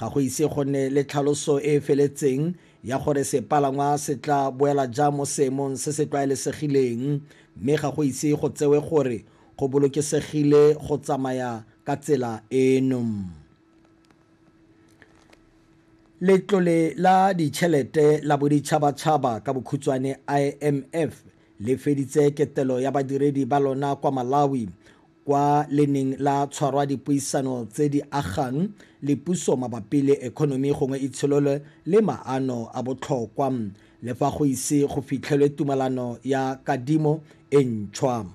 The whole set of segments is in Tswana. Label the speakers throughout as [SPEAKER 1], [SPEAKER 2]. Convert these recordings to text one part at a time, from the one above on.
[SPEAKER 1] Ga go ise go nne le tlhaloso e e feletseng ya gore sepalangwa se tla boela jang mo seemong se se tlwaelesegileng, mme ga go ise go tsewe gore go bolokesegile go tsamaya ka tsela eno. Letlole la ditšhelete la boditšhabatšhaba ka bokhutshwane IMF le feditse ketelo ya badiredi ba lona kwa Malawi kwa le neng la tshwarwa dipuisano tse di agang le puso mabapi le ekonomi gongwe itsholelo le maano a botlhokwa, le fa go ise go fitlhelwe tumalano ya kadimo e ntšhwa.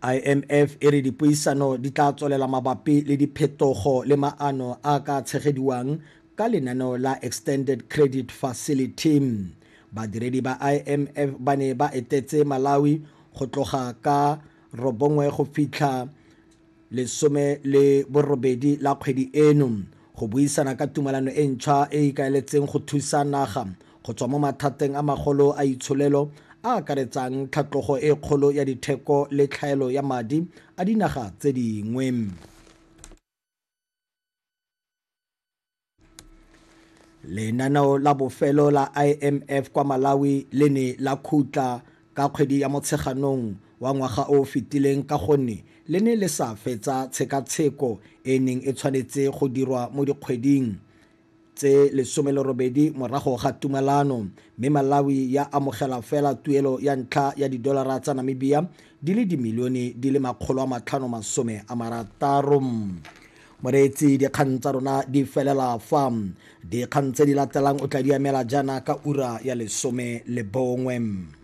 [SPEAKER 1] IMF e re dipuisano di tla tswelela mabapi le diphetogo le maano a ka tshegediwang ka lenaneo la Extended Credit Facility. Badiredi ba IMF ba ne ba etetse Malawi go tloga ka 9 go fitlha 18 la kgwedi eno go buisana ka tumalano e ntšhwa e e ikaeletseng go thusa naga go tswa mo mathateng a magolo a itsholelo a akaretsang tlhatlogo e kgolo ya ditheko le tlhaelo ya madi a dinaga tse dingwe. Lenaneo la bofelo la IMF kwa Malawi le ne la khutla ka kgwedi ya Motsheganong wa ngwaga o o fetileng ka gonne le ne le sa fetsa tshekatsheko e e neng e tshwanetse go dirwa mo dikgweding tse 18 morago ga tumalano, mme Malawi ya amogela fela tuelo ya ntlha ya didolara tsa Namibia di le dimilione di le 560. Moreetsi, dikgang tsa rona di felela fa. Dikgang tse di latelang o tla di amela jaana ka ura ya 11.